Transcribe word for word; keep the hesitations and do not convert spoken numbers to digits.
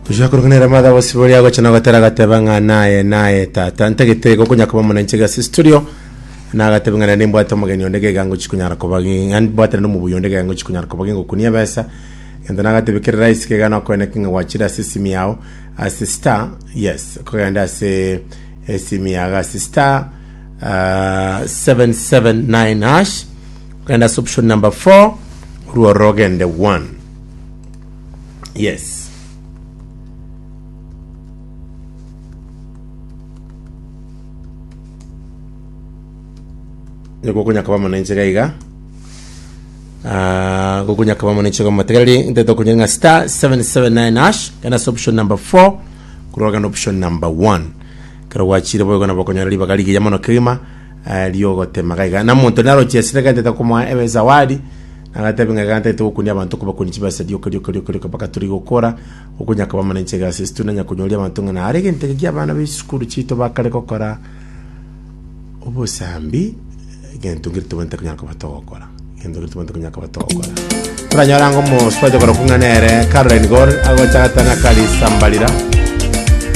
Tujakurukanera madha bosibori agocha nagotera gateba ng'a naye naye tata ntagete gokonya koba monenche gase studio nagateba ng'a nende mbwate omogeni onde gega ngochi konyara koba mbwatane nomobuya onde gega ngochi konyara koba gingokunia ebesa gento nagatebe kere rahisi kega nokoeneki ng'a gwachire ase esimi yao ase star yes kogenda ase esimi yago ase star uh, seven seven nine hash ogenda ase option number four orwo ogende one yes. Gokonya koba mono inche iga Ah, gokonya koba mono inche gomotegereri ntete okonya ng'a star seven seven nine hash genda ase option number four korwa genda option number one kero gwachire boigo nabo okonyora ribaga rigiya mono kegima eh, riogotema iga na omonto narochesire gentete komoa ebe zawadi nagatebe ng'a gantete gokunia abanto kobakunia chibesa rioka rioka rioka rioka mpaka turi gokora gokonya koba mono inche gase ase nanya konyoria abanto ng'a nare egento eke kia abana ba esukuru chiito bakare gokora obosambi egento nkeri tobwenerete konyara koba togokora egento nkeri tobwenerete konyara koba togokora toranyora ng'a omosubati okorokwa ng'a nere Caroline Gor agocha agatanga karisambarira.